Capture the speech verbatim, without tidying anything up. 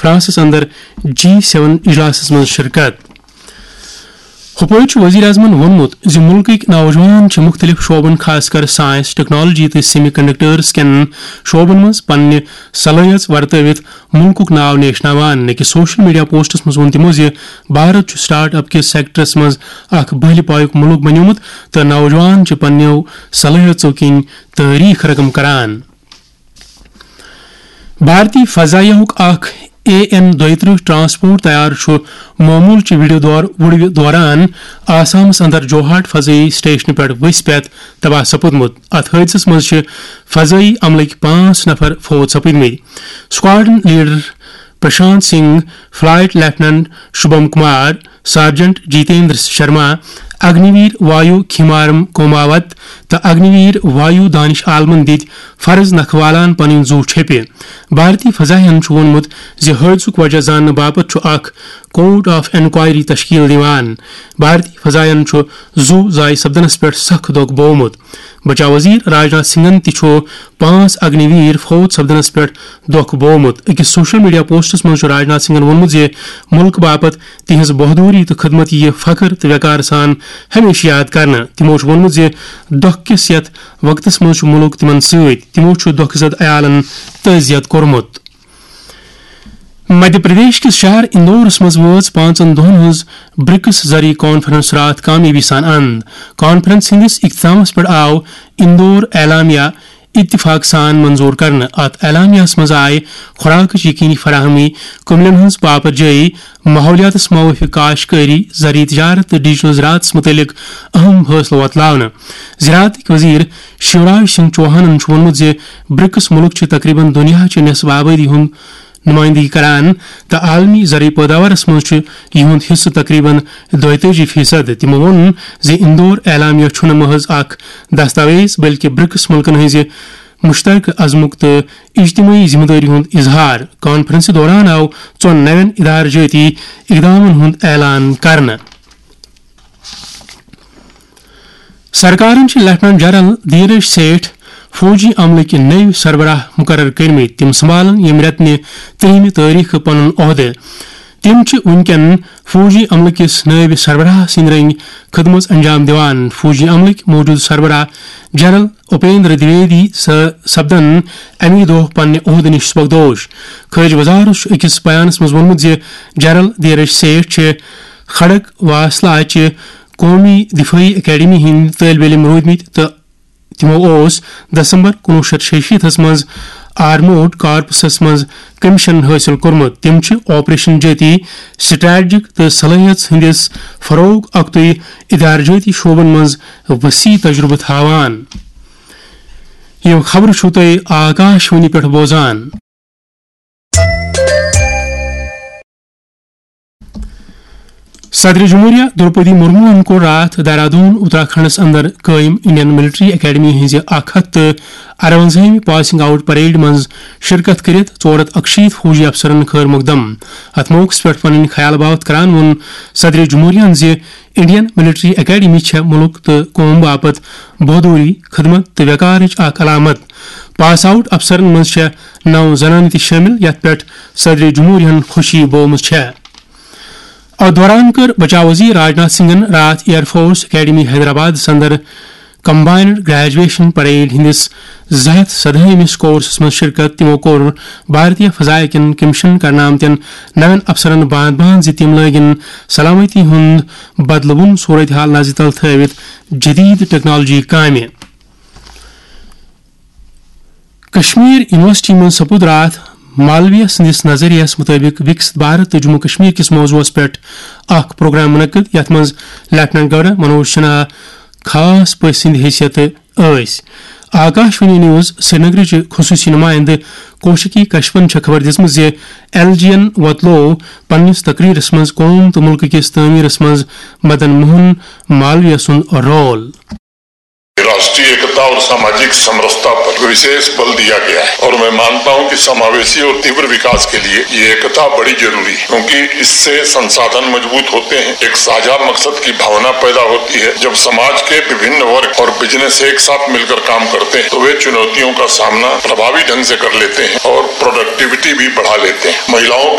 Francis اندر جی seven اجلاسس منٛز شرکت۔ ہُپٲرۍ چھُ وزیر اعظمن ووٚنمُت زِ مُلکٕکۍ نوجوان چھِ مُختٔلِف شعبن، خاص کر سائنس، ٹیکنالوجی تہٕ سیمی کنڈکٹرز کٮ۪ن شعبن منٛز پننہِ صلٲحیژ ورتٲوِتھ مُلکُک ناو نیشناوان۔ أکِس سوشل میڈیا پوسٹس منٛز ووٚن تِمو زِ بھارت چھُ سٹارٹ اپ کِس سیکٹرس منٛز اکھ بٔلۍ پایُک مُلک بنیومُت تہٕ نوجوان چھِ پننیو صلٲحیژو کِنۍ تٲریخ رقم کران۔ بھارتی فضائیہ ہُک اکھ اے این دۄیہِ ترٕٛہ ٹرانسپورٹ طیارٕ چھُ معموٗل چہِ ویڈیو دور وُڑوِ دوران آسامس اندر جوہاٹ فضائی سٹیشنہٕ پٮ۪ٹھ ؤسۍ پٮ۪تھ تباہ سپُدمُت۔ اتھ حٲدثس منٛز چھِ فضائی عملٕکۍ پانٛژھ نفر فوت سپٕدمٕتۍ۔ Squadron leader Prashant Singh, flight lieutenant Shubham Kumar, sergeant Jitendra Sharma, Agniveer Vayu Khemaram کوماوت تہٕ اگنی ویر وایو دانش عالمن دِتۍ فرض نکھٕ والان پنٕنۍ زُو چھیٚپہِ۔ بھارتی فضائیہن چھُ ووٚنمُت زِ حٲدثُک وجہ زاننہٕ باپتھ چھُ اکھ کورٹ آف انکوائری تشکیل دِوان۔ بھارتی فضائیہن چھُ زُو ضایع سپدنس پٮ۪ٹھ سخ دۄکھ بوومُت۔ بچاو وزیر راجناتھ سنگھن تہِ چھُ پانٛژھ اگنی ویر فوت سپدنس پٮ۪ٹھ دۄکھ بوومُت۔ أکِس سوشل میڈیا پوسٹس منٛز چھُ راجناتھ سنگھن ووٚنمُت زِ مُلکہٕ باپتھ تِہنٛز بہادری تہٕ خدمت یِیہِ فخر تہٕ وقار سان ہمیشہٕ یاد کرنہٕ۔ تِمو چھُ ووٚنمُت زِ دۄکھ کِس یتھ وقتس منٛز چھُ مُلک تِمن سۭتۍ۔ تِمو چھُ دۄکھٕ زد عیالن تعزیت کوٚرمُت۔ مدھیہ پردیش کِس شہر اندورس منٛز وٲژ پانٛژن دۄہن ہٕنٛز برکس زرعی کانفرنس راتھ کامیٲبی سان اند۔ کانفرنس ہٕنٛدِس اختتامس پٮ۪ٹھ آو اندور اعلامیہ اتفاق سان منظور کرنہٕ۔ اتھ اعلامیہس منٛز آیہِ خوراکٕچ یقینی فراہمی، کٔملن ہٕنٛز پاپر جٲیی، ماحولیاتس موٲفِق کاشتکٲری، زرعی تجارت تہٕ ڈیجیٹل زراعتس متعلق اہم فٲصلہٕ وۄتلاونہٕ۔ زراعتٕکۍ وزیر شیوراج سنگھ چوہانن چھُ ووٚنمُت زِ برکس مُلک چھِ تقریباً دُنیاہچہِ نصف آبٲدی ہُنٛد نمائندگی کران تہٕ عالمی زرعی پیداوارس منٛز چھُ یِہُنٛد حصہٕ تقریباً دۄیتٲجی فیصد۔ تِمو ووٚن زِ اندور اعلامیہ چھُنہٕ محض اکھ دستاویز، بلکہِ برکس مُلکن ہٕنٛزِ مشترکہ عزمُک تہٕ اجتماعی ذمہ دٲری ہُنٛد اظہار۔ کانفرنسہِ دوران آو ژۄن نوٮ۪ن ادارٕ جٲتی اقدامن ہُنٛد اعلان کرنہٕ۔ سرکارن چھِ لیفٹیننٹ جنرل دھیرج سیٹھ فوجی عملٕکۍ نٔوۍ سربراہ مقرر کٔرمٕتۍ۔ تِم سنبھالن ییٚمہِ رٮ۪تہٕ نہِ ترٛہمہِ تٲریخہٕ پنُن عہدٕ۔ تِم چھِ وُنکٮ۪ن فوجی عملہٕ کِس نٲیِب سربراہ سٕنٛدۍ رٔنگۍ خدمژ انجام دِوان۔ فوجی عملٕکۍ موجودٕ سربراہ جنرل اپیندر دویدی س-، سپدن اَمی دۄہ پننہِ عہدٕ نِش سبکدوش۔ خارجہ وزارت چھُ أکِس بیانس منٛز ووٚنمُت زِ جنرل دھیرج سیٹھ چھِ کھڑک واسلہ چہِ قومی دفاعی اکیڈمی ہٕنٛدۍ طٲلبہِ علم روٗدمٕتۍ تہٕ تِمو اوس دسمبر کُنوُہ شیٚتھ شیٚیہِ شیٖتس منٛز آرمورڈ کارپسس منٛز کمیشن حٲصِل کوٚرمُت۔ تِم چھِ آپریشن جٲتی، سٹریٹجک تہٕ صلٲحیت ہٕنٛدِس فروغ اکتُے ادارٕ جٲتی شعبن منٛز وسیع تجربہٕ تھاوان۔ یِم خبرٕ چھِو تُہۍ آکاش وانی پٮ۪ٹھ بوزان۔ صدر جمہوریہ درپدی مرموہن کوٚر راتھ دہرادون، اتراکھنڈس اندر قٲیم انڈین ملٹری اکیڈمی ہٕنٛزِ اکھ ہتھ تہٕ ارونزٲہمہِ پاسنگ آؤٹ پریڈ منٛز شرکت کٔرِتھ ژور ہتھ اکشیٖتھ فوجی افسرن خٲر مقدم۔ اتھ موقعس پٮ۪ٹھ پنٕنۍ خیال باوتھ کران ووٚن صدر جمہوریہن زِ انڈین ملٹری اکیڈمی چھےٚ ملک تہٕ قوم باپتھ بہادری، خدمت تہٕ وقارٕچ اکھ علامت۔ پاس آؤٹ افسرن منٛز چھےٚ نو زنانہٕ تہِ شٲمِل، یتھ پٮ۪ٹھ صدر جمہوریہن خوشی بٲومٕژ چھےٚ۔ اتھ دوران کٔر بچاو وزیر راجناتھ سنگھن راتھ ایئر فورس اکیڈمی حیدرآبادس اندر کمبائنڈ گریجویشن پریڈ ہٕنٛدِس زٕ ہتھ سدہٲیمِس کورسس منٛز شرکت۔ تِمو کوٚر بھارتیہ فضائیہ کٮ۪ن کمیشن کرنہٕ آمتٮ۪ن نوٮ۪ن افسرن باند باند زِ تِم لٲگِن سلامتی ہُنٛد بدلوُن صورتحال نظرِ تل تھٲوِتھ جدید ٹیکنالوجی کامہِ۔ کشمیر یونیورسٹی منٛز سپُد راتھ مالویہ سٕنٛدِس نظریہس مُطٲبِق وِکسِت بھارت تہٕ جموں کشمیر کِس موضوعس پٮ۪ٹھ اکھ پروگرام منعقد، یتھ منٛز لیفٹیننٹ گورنر منوج سنہا خاص پٔژھۍ سٕنٛدِ حیثیتہٕ ٲسۍ۔ آکاش وانی نیوز سرینگرٕچ خصوٗصی نُمایندٕ کوشکی کشپن چھےٚ خبر دِژمٕژ زِ ایل جی این وۄتلوو پننِس تقریرس منٛز قوم تہٕ مُلکہٕ کِس تعمیرس منٛز مدن موہن مالویہ سُنٛد رول۔ राष्ट्रीय एकता और सामाजिक समरसता पर विशेष बल दिया गया है और मैं मानता हूं कि समावेशी और तीव्र विकास के लिए ये एकता बड़ी जरूरी है, क्योंकि इससे संसाधन मजबूत होते हैं, एक साझा मकसद की भावना पैदा होती है। जब समाज के विभिन्न वर्ग और बिजनेस एक साथ मिलकर काम करते हैं, तो वे चुनौतियों का सामना प्रभावी ढंग से कर लेते हैं और प्रोडक्टिविटी भी बढ़ा लेते हैं। महिलाओं